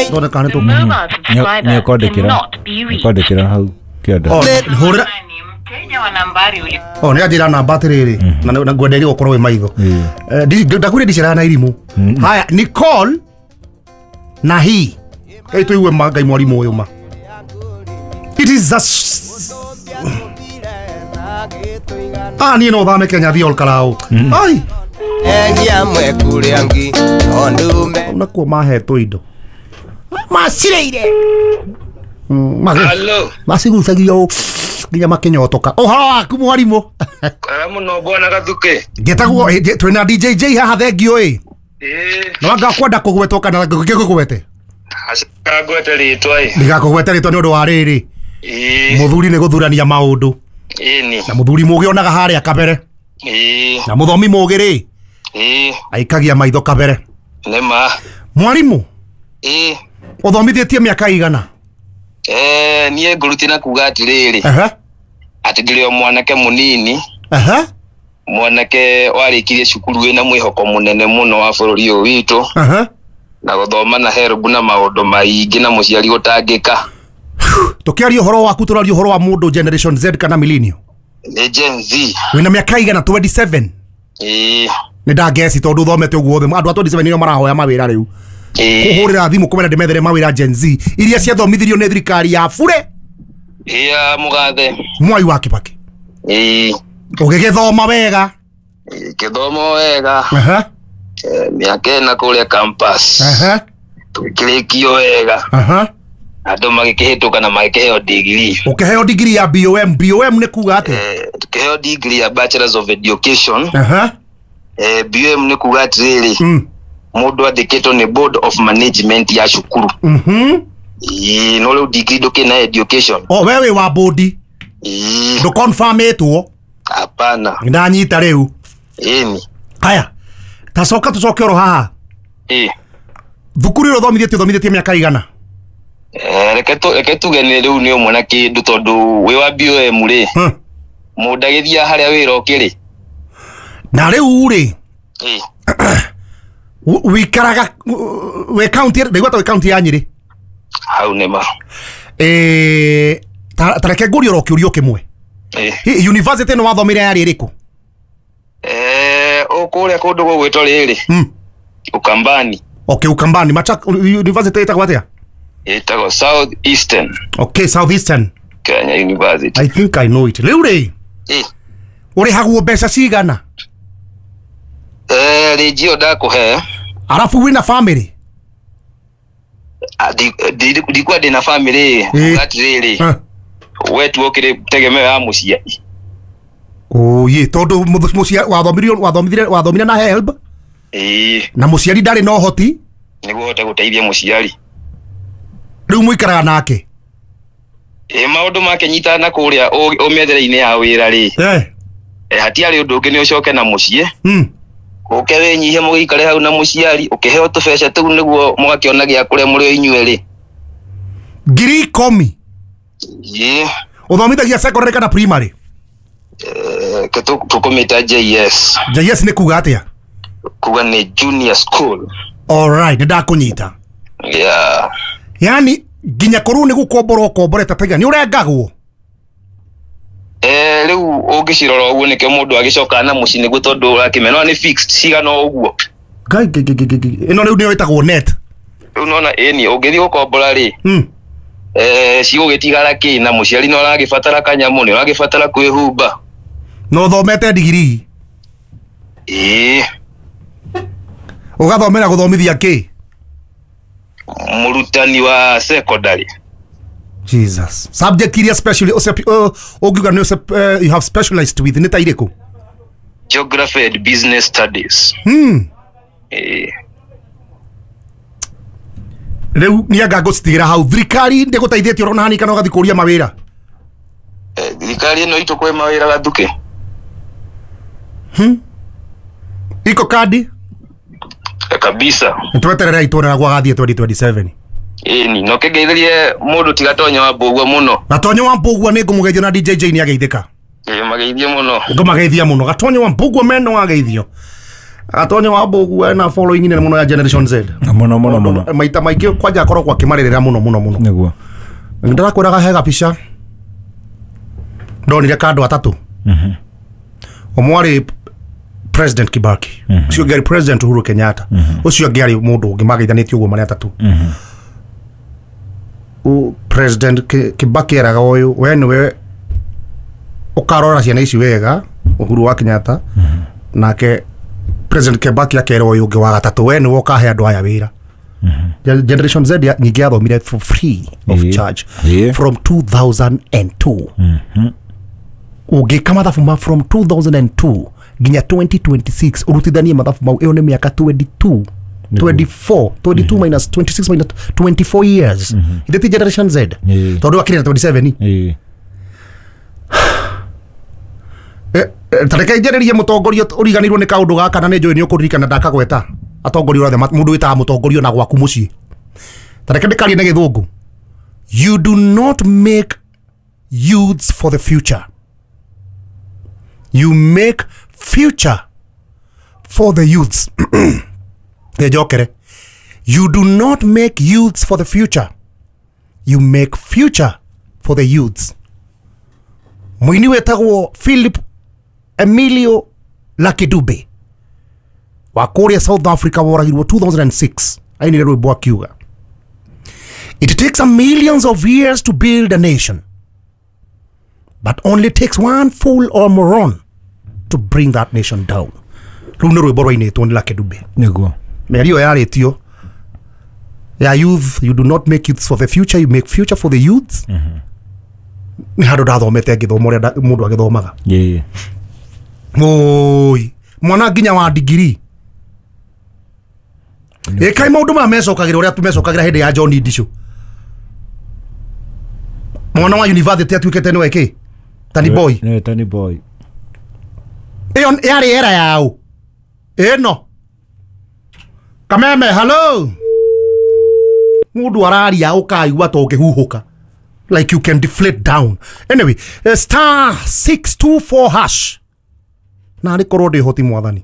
Tuone kana The nĩ tũ mobile subscriber Nĩakwandĩkĩra cannot be reached. nĩakwandĩkĩra hau kĩanda. Oh, hũrĩra. Ni mteja wa nambari uli Oh, nĩ anjĩra namba atĩrĩrĩ na ngwenderie gũkorwo wĩ maitho. Ndakwĩrire ndiceraga na irimũ. Haya, Nicole na hi Ngai tũigue ma Ngai mwarimũ ũyũ ma. It is a Ah, niĩ no thame Kenya thiĩ Olkalau. Ai, Egia mwekure angi tondu nakuo mahetwo indo macireire. Hello. Macigucagia ũ nginya makĩnyotoka. Ũhoro waku mwarimũ? Kwega mũno bwana Gathuke. Ngĩtagwo twĩna DJJ haha thengio ĩ. Ĩĩ, No anga kwenda kũgwetwo kana ngĩkũgwete? aca ngwete rĩtwa ĩ. Ndigakũgwete rĩtwa nĩ ũndũ wa rĩrĩ. Ĩĩ, Mũthuri nĩ gũthurania maũndũ. ĩni. Na mũthuri mũgĩ onaga harĩa kabere. Ĩĩ, Na mũthomi mũgĩ rĩ ĩĩ, aikagia maitho kabere. nĩ ma. Mwarimũ, Ĩĩ, ũthomithĩtie mĩaka igana? Niĩ ngũruti na kuga atĩrĩrĩ, Ehe. atĩ ndĩrĩ o mwanake mũnini, Ehe. mwanake warĩkirie cukuru wĩna mwĩhoko mũnene mũno wa bũrũri ũyũ witũ, Ehe. na gũthoma na HELB na maũndũ maingĩ na mũciari gũtangĩka. Tũkĩaria ũhoro waku tũraria ũhoro wa mũndũ generation Z kana millennial. Nĩ Gen Z. Wĩna mĩaka igana? 27. Ĩĩ, Nĩ ndangeci tondũ ũthomete ũguo othe andũ a 27 nĩo marahoya mawĩra rĩu. ĩĩ, Kũhũrĩra thimũ kũmera ndĩmethere mawĩra Gen Z iria ciathomithirio nĩ thirikari ya bure ĩĩ ya mũgathe. Mwai wa Kibaki. Ĩĩ, Ũgĩgĩthoma wega. gĩthomo wega. Ehe. Mĩaka ĩna kũrĩa campus. Ehe. Tũgĩkĩrĩkio wega. Ehe. Andũ magĩkĩhĩtũka na magĩkĩheo degree. Ũkĩheo degree ya BOM. BOM nĩ kuga atĩa? Tukĩheo degree ya Bachelors of Education. Ehe. BOM nĩ kuga atĩrĩrĩ, mũndũ andĩkĩtwo nĩ Board of Management ya cukuru. Ĩĩ, no rĩu degree ndũkĩrĩ na education. O we wĩ wa bodi Ĩĩ, ndũconfirmĩtwo. hapana. Ndanyita rĩu. Ĩni. Haya, tacoka tũcoke oro haha. Ĩĩ. Thukuru ĩrĩa ũthomithĩtie ũthomithĩtie mĩaka igana? Reke tuge nĩ rĩu nĩ ũmwe na kĩndũ tondũ wĩ wa BOM rĩ, mũndũ agĩthiaga harĩa wĩra ũkĩrĩ. Na rĩu rĩ, Ĩĩ. wĩikaraga wĩ kaunti, ndaigua ta wĩ kaunti ya Nyĩrĩ. Hau nĩ ma. Ta reke ngũrie oro kĩũrio kĩmwe. Ĩĩ. Hi, university ĩno wathomire yarĩ ĩrĩkũ? Kũrĩa kũndũ gũgwĩtwo rĩrĩ, Ukambani. Okay, Ukambani. Machak university ĩtagwo atĩa? Ĩtagwo South Eastern Okay, South Eastern Kenya University. I think I know it. Rĩu rĩ, Ĩĩ. ũrĩhagwo mbeca cigana? Rĩnji ĩyo ndakũhe. Arabu wĩna family? Ndikua ndĩna family. Ĩĩ. Kuga atĩrĩrĩ, we tu ũkĩrĩ tegemeo ya mũciari. Oye, tondũ wathomire na HELB Ĩĩ, na mũciari ndarĩ na ũhoti. Nĩguo ũhote gũteithia mũciari. Rĩu mũikaraga nake? Ĩĩ, maũndũ makĩnyitana na kũrĩa ũmĩethere-inĩ ya wĩra rĩ, hatiarĩ ũndũ ũngĩ nĩ ũcoke na mũciĩ, ũke wĩnyihie mũgĩikare hau na mũciari ũkĩheo tũbeca tũu nĩguo mũgakĩona gĩa kũrĩa mũrĩ o inyuerĩ. 10,000? Ĩĩ. Ũthomithagia secondary kana primary? Tũkũmĩta JS. JS nĩ kuga atĩa? Kuga nĩ junior school. Alright, nĩ ndakũnyita. Yeah. Yani nginya korwo nĩ gũkombora ũkomborete taiga nĩ ũrengagwo? Rĩu ũngĩcirora ũguo nĩkĩo mũndũ agĩcokaga na mũciĩ nĩguo tondũ ũrakĩmenya no nĩ fixed cigana o ũguo. Ngai ngai ngai ngai ngai. Ĩno rĩu nĩyo ĩtagwo net. Rĩu nona ĩni ũngĩthiĩ gũkombora rĩ, cigũgĩtigara kĩ na mũciari nĩ ũragĩbatara kanyamũ, nĩ ũragĩbatara kwĩhumba. Na ũthomete digirii? Ĩĩ. Ũgathomera gũthomithia kĩ? Mũrutani wa secondary. Jesus. Subject iria specially ũngiuga nĩ you have specialized with nĩ ta irĩkũ? Geography and business studies. Ĩĩ. Rĩu nĩ anga ngũcitigĩra hau. Thirikari ndĩgũteithĩtie ũrona hani kana ũgathiĩ kũria mawĩra? Thirikari ĩno itũ kwĩ mawĩra Gathuke. Iko kandi? Kabisa. Nĩtwetererei tuone na gwagathiĩ 2027. Ĩni no kĩngeithĩrie mũndũ tiga Tonyo wa Mbũgua mũno. Gatonyo wa Mbũgua nĩ ngũmũgeithia na DJJ nĩ ageithĩka. Ĩĩ, mageithie mũno. Ngũmageithia mũno. Gatonyo wa Mbũgua meno ageithio. Atonyo wa Mbogu ena following nene muno ya Generation Z. Muno muno muno. Maita maingĩ kwanja akoragwo akĩmarĩrĩra muno muno muno. Nĩguo. Ndĩrakwĩraga he gabica ndonire ka andũ atatũ. Ũmwe arĩ President Kibaki, ũcio ũngĩ arĩ President Uhuru Kenyatta, ũcio ũngĩ arĩ mũndũ ũngĩ mageithanĩtie ũguo marĩ atatũ. President Kibaki eraga ũyũ, we nĩwe ũkarora ciana ici wega, Uhuru wa Kenyatta, nake President Kibaki akera ũyũ ũngĩ wa gatatũ, we nĩwe ũkahe andũ aya wĩra. Generation Z nyingĩ yathomire for free of charge from 2002. Ũngĩka mathabu ma from 2002 nginya 2026 ũrutithanie mathabu mau, ĩyo nĩ mĩaka 22 24 22 minus 26 minus 24 years. Ithe ti Generation Z tondũ akĩrĩ na 27. Tareke njarĩrie mũtongoria ũriganĩirwo nĩ kaũndũ gaka na nĩ njũĩ nĩ ũkũririkana ndakagweta atongoria othe mũndũ wĩtaga mũtongoria na gwaku mũciĩ. Tareke ndĩkarie na gĩthũngũ. You do not make youths for the future, you make future for the youths. Njokere. You do not make youths for the future, you make future for the youths. Mũini wetagwo Philip Emilio Lucky Dube wa kũrĩa South Africa woragirwo 2006 ainire rwĩmbo akiuga, it takes a millions of years to build a nation, but only takes one fool or moron to bring that nation down. Rũu nĩ rwĩmbo rwainĩtwo nĩ Lucky Dube. Nĩguo. Mĩario yarĩtio ya youth, you do not make youths for the future, you make future for the youths. Nĩ handũ ndathomete ngĩthoma ũrĩa mũndũ agĩthomaga. Oi, mwana nginya wa digiri. Ĩkai maũndũ maya mecokagĩra ũrĩa tumecokagĩra hĩndĩ ya John Ndicũ. Mwana wa university atuĩkĩte nĩwe kĩ? Tani boy. Nĩwe Tani boy. Ĩyo yarĩ era yao. Ĩno. Kameme, hello. Mũndũ araria ũkaigua ta ũngĩhuhũka. Like you can deflate down. Anyway, star 624 hash. Na arĩ korwo ndĩ hoti mwathani.